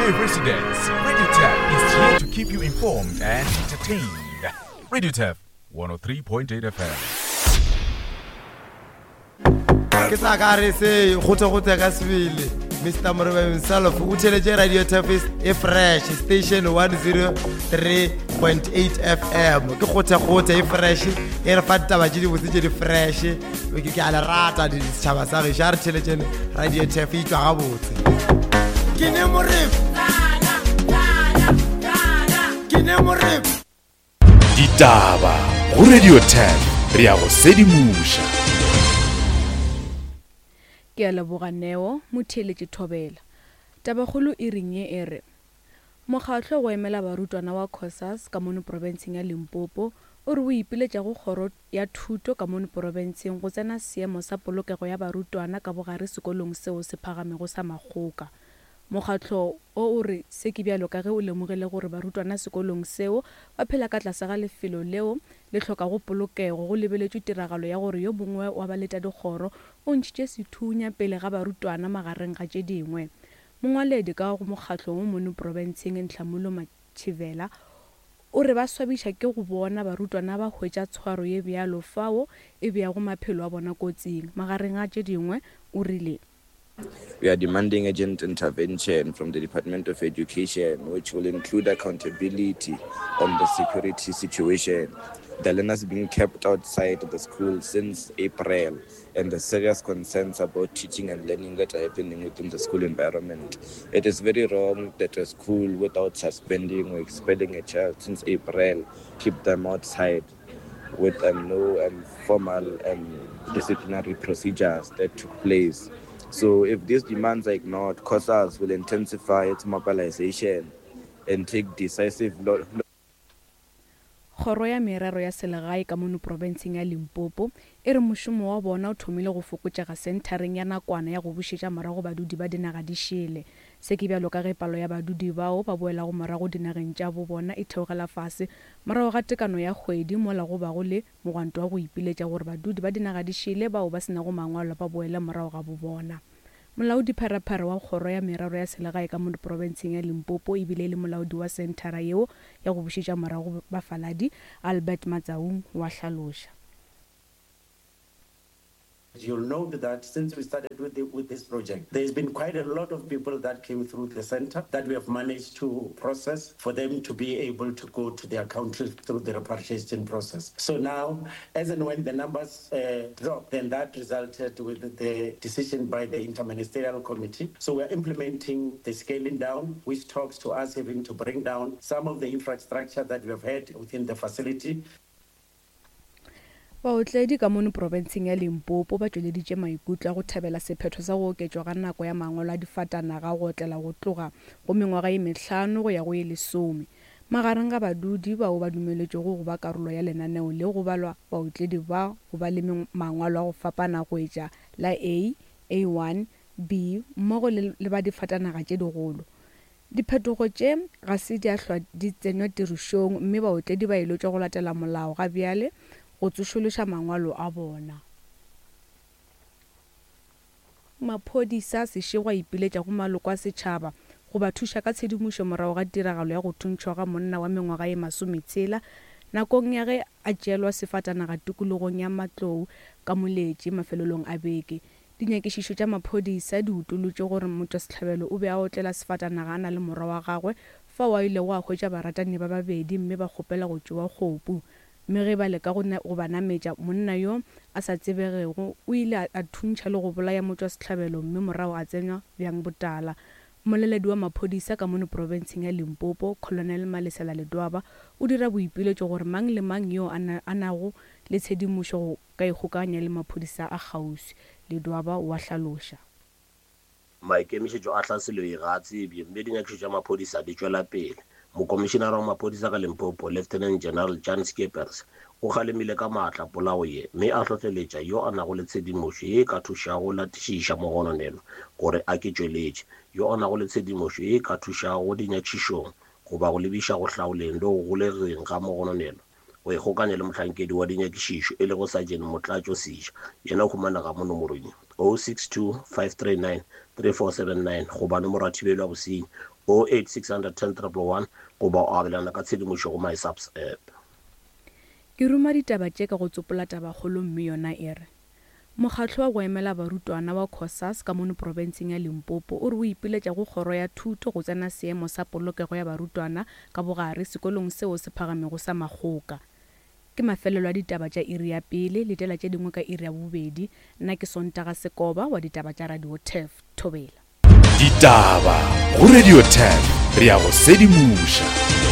day, residents. Radio Tap is here to keep you informed and entertained. Radio Tap 103.8 FM. Ke tla ka re se gote-gote ka sebele Mr Morebe himself o theletše Radio Tafis e fresh station 103.8 FM ke gote-gote e fresh e re fa ditaba tše dibotse tše di fresh ke ke a le rata setšhaba sa gešo a re theletšene Radio Taf e tšwa gabotse ke ne Morebe ke ne Morebe Ditaba go Radio 10 re ya go sedimoša. Ke a leboga Neo, motheeletši Thobela. Tabakgolo e reng ye e re, Mokgatlo go emela barutwana wa Cosas ka mono profenseng ya Limpopo o re o ipiletša go kgoro ya thuto ka mono profenseng go tsena seemo sa polokego ya barutwana ka bogare sekolong seo se phagamego sa Makgoka. Mokgatlo o o re se ke bjalo ka ge o lemogile gore barutwana sekolong seo ba phela ka tlase ga lefelo leo le hlokago polokego go lebeletšwe tiragalo ya gore yo mongwe wa baletadikgoro o ntšhitše sethunya pele ga barutwana magareng ga tše dingwe. Mongwaledi ka go mokgatlo wo mono profenseng Nhlamulo Matshivela o re ba swabiša ke go bona barutwana ba hwetša tshwaro ye bjalo fao e beago maphelo a bona kotsing. Magareng ga tše dingwe o rile. We are demanding urgent intervention from the Department of Education, which will include accountability on the security situation. The learners being kept outside the school since April and the serious concerns about teaching and learning that are happening within the school environment. It is very wrong that a school, without suspending or expelling a child since April, keep them outside with um, no um, formal um, disciplinary procedures that took place. So if these demands are ignored, COSAS will intensify its mobilization and take decisive Kgoro ya Merero ya Selegae ka mono profenseng ya Limpopo e re mošomo wa bona o thomile go fokotšega senthareng ya nakwana ya go bušetša morago badudi ba dinaga di šele. Se ke bjalo ka ge palo ya badudi bao ba boelago morago dinageng tša bo bona e theogela fase morago ga tekano ya kgwedi mola go bago le mogwanto wa go ipiletša gore badudi ba dinaga di šele bao ba se nago mangwalo ba boele morago ga bo bona. Molaodipharephare wa Kgoro ya Merero ya Selegae ka mo profenseng ya Limpopo ebile e le molaodi wa senthara yeo ya go bušetša morago bafaladi, Albert Matsaung wa hlaloša. You'll note that since we started with, the, with this project, there's been quite a lot of people that came through the center that we have managed to process for them to be able to go to their country through the repatriation process. So now, as and when the numbers uh, dropped, then that resulted with the decision by the interministerial committee. So we're implementing the scaling down, which talks to us having to bring down some of the infrastructure that we have had within the facility. Baotledi ka mono profenseng ya Limpopo ba tšweleditše maikutlo a go thabela sephetho sa go oketšwa ga nako ya mangwalo a difatanaga go otlela go tloga go mengwaga ye mehlano go ya go ye lesome. Magareng ga badudi bao ba dumeletšwego go ba karolo ya lenaneo le go balwa baotledi ba go ba le mangwalo a go fapana go etša la A, A1, B mmogo le le ba difatanaga tše digolo. Diphetogo tše ga se di a hlwa di tsenywa tirišong mme baotledi ba eletšwa go latela molao ga bjale go tsošološa mangwalo a bona. Maphodisa a sešego a ipiletša go maloko a setšhaba go ba thuša ka tshedimošo morago ga tiragalo ya go thuntšhwa ga monna wa mengwaga ye masometshela nakong ya ge a tšeelwa sefatanaga tikologong ya Matlou ka Moletši mafelelong a beke. Dinyakišišo tša maphodisa di utolotše gore motšwasehlabelo o be a otlela sefatanaga a na le morwa wa gagwe fao a ilego a hwetša baratani ba babedi mme ba kgopela go tšewa kgopu. Mme ge ba leka go go ba nametša, monna yo a sa tsebegego o ile a thuntšha le go bolaya motšwasehlabelo mme morago a tsenywa bjang botala. Mmoleledi wa maphodisa ka mono profenseng ya Limpopo, Colonel Malesela Ledwaba o dira boipiletšo gore mang le mang yo a nago le tshedimošo go ka ikgokaganya le maphodisa a kgauswi, Ledwaba o a hlaloša. Maikemišetšo a tlhaselo ye ga a tsebje mme dinyakišišo tša maphodisa di tšwela pele. Mokomišinara wa maphodisa ka Limpopo, Lieutenant General Jan Scheepers, o kgalemile ka maatla polao ye mme a hlohleletša yo a nago le tshedimošo ye e ka thušago go latišiša mogononelwa gore a ke tšweletše. Yo a nago le tshedimošo ye e ka thušago dinyakišišong goba go lebiša go hlaoleng le go golegeng ga mogononelwa go ikgokanya le mohlankedi wa dinyakišišo e lego Sergeant Motlatšo Seja, yena o humanega mo nomorong ye. 062 539 3479 goba nomoro ya thibelo ya bosenyi 08 610 111 goba o abelana ka tshedimošo go MySAPS app. Ke ruma ditaba tše ka go tsopola tabakgolo mme yona e re, Mokgatlo wa go emela barutwana wa Cosas ka mono profenseng ya Limpopo o re o ipiletša go kgoro ya thuto go tsena seemo sa polokego ya barutwana ka bogare sekolong seo se phagamego sa Makgoka. Ke mafelelo a ditaba tša iri ya pele, letela tše dingwe ka iri ya bobedi. Nna ke Sontaga Sekoba wa ditaba tša Radio Turf. Thobela. Ditaba go Radio Turf, re a go sedimoša.